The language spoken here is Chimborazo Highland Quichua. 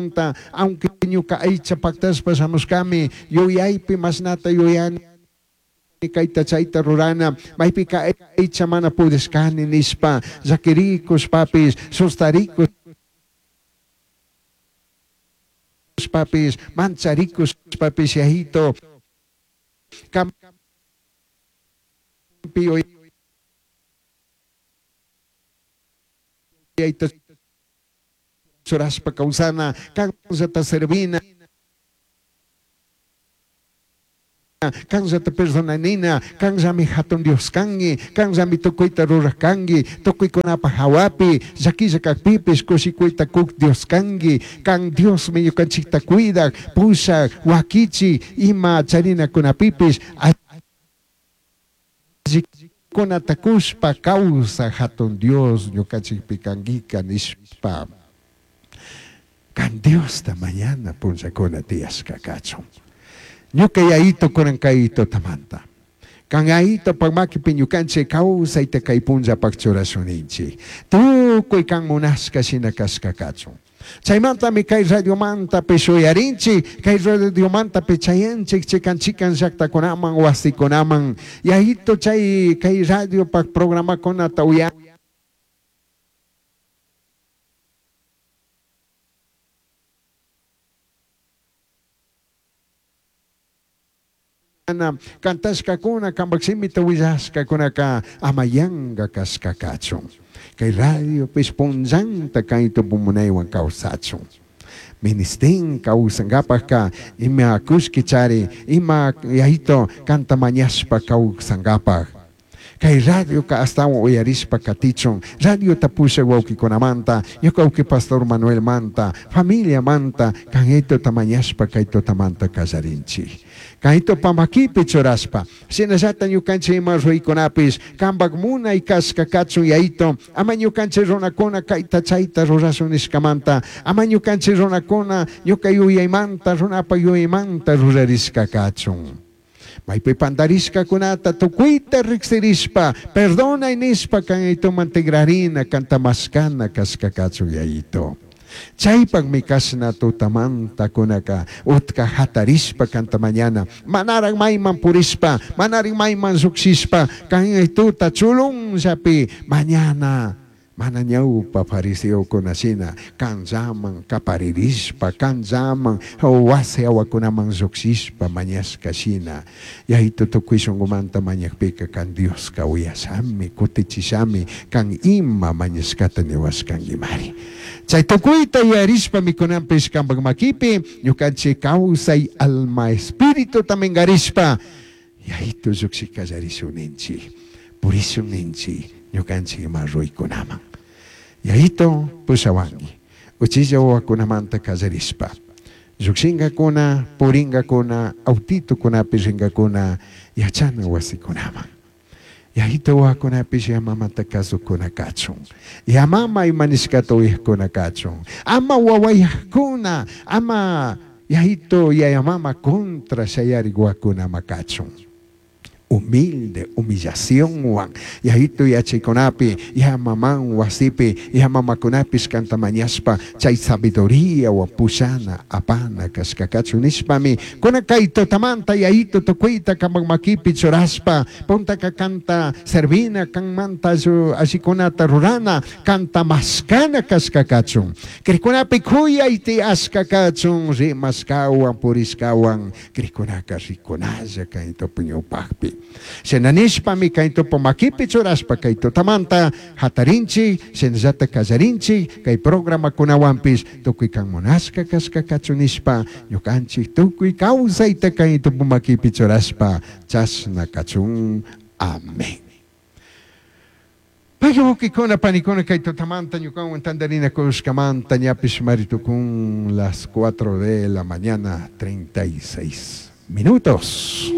Chaimanta, aunque ñuca aicha pactashpa shamushcami, yuyaipi mashnata yuyani, caita chaita rurana, maipica aicha mana pudishcani nishpa, llaquiricushpapish, sustaricushpapish, mancharicushpapish, Yayito, campi yuyaita churashpa causana, canllata servina, canllata perdonanina, canllami jatun Dios cangui, canllami tucuita ruraj cangui, tucuicunapaj jahuapi, llaquilla cajpipish cushicuita cuj Dios cangui, can Diosmi ñucanchijta cuidaj, pushaj, huaquichij, ima charinacunapipish allicunata cushpa causaj jatun Dios ñucanchijpi canguica nishpa, can Diosta mañana punllacuna tiyashca cachun. Ñuca Yayito cunan cai tutamanta, can Yayitopaj maquipi ñucanchij causaita cai punllapaj churashun ninchij. Tucui can munashca shina cashca cachun. Chaimantami cai radiomantapish uyarinchij, cai radiomantapish chayanchij chican chican llajtacunaman, huasicunaman. Yayito chai cai radiopaj programacunata uyana cantashcacuna, cambaj shimita huillashcacunaca ama yanga cashca cachun. Cai radiopish punllanta cai tupu munaihuan causachun. Ministin causangapajca ima cullqui chari, ima Yayito canta mañashpa causangapaj. Cai radioca ashtahuan uyarishpa catichun, radiota pushaj huauquicunamanta, ñuca huauqui pastor Manuelmanta, familiamanta, can Yayitota mañashpa cai tutamanta callarinchij. Caitopa maquipi churashpa, shinallata ñucanchij ima ruicunapish cambaj munai cashca cachun Yayito, ama ñucanchij runacuna caita chaita rurashun nishcamanta, ama ñucanchij runacuna ñuca yuyaimanta, runapaj yuyaimanta rurarishca cachun. Maipi pandarishcacunata tucuita rijsirishpa, perdonai nishpa can Yayitoman tigrarina, canta mashcana cashca cachun Yayito. Chaipajmi cashna tutamanta cunaca utca jatarishpa canta mañana, manaraj maiman purishpa, manaraj maiman llujshishpa, can Yayitota chulunllapi mañana, mana ñaupa fariseocuna shina canllaman caparirishpa, canllaman huasi jahuacunaman llujshishpa mañashca shina. Yayito tucui shungumanta mañajpica can Diosca uyashami, cutichishami, can ima mañashcata nihuashcanguimari. Chai tucuita yuyarishpami cunanpish cambaj maquipi ñucanchij causai alma espirituta mingarishpa Yayito llujshi callarishun ninchij, purishun ninchij ñucanchij ima ruicunaman. Yayito pushahuangui, uchilla huahuacunamanta callarishpa, llujshingacuna, puringacuna, autitocunapi ringacuna yachana huasicunaman. Yayito huahuacunapish ya mamata cazuccuna cachun, ya mama ima nishcata uyajcuna cachun, ama huahuayajcuna, ama Yayito yaya mama contra shayaric huahuacuna ama cachun. Humilde, humillacionhuan, Yayito yachaicunapi, ya maman huasipi, ya mamacunapish canta mañashpa chai sabiduriahuan pushana, apana cashca cachun nishpami, cunan cai tutamanta Yayito tucuita cambaj maquipi churashpa, puntaca canta servina, canmanta allicunata rurana, canta mashcana cashca cachun. Cricunapi cuyai tiyashca cachun, rimashcahuan, purishcahuan, Cricunaca ricunalla cai tupu ñaupajpi. Shina nishpami cai tupu maquipi churashpa cai tutamanta jatarinchij, shinallata callarinchij, cai programacunahuanpish tucui can munashca cashca cachun nishpa ñucanchij tucui causaita cai tupu maquipi churashpa chashna cachun. Amén. Pagui huauquicuna, panicuna, cai tutamanta ñucahuan tandarinacushcamanta ñapish mari tucun las cuatro de la mañana 36 minutos.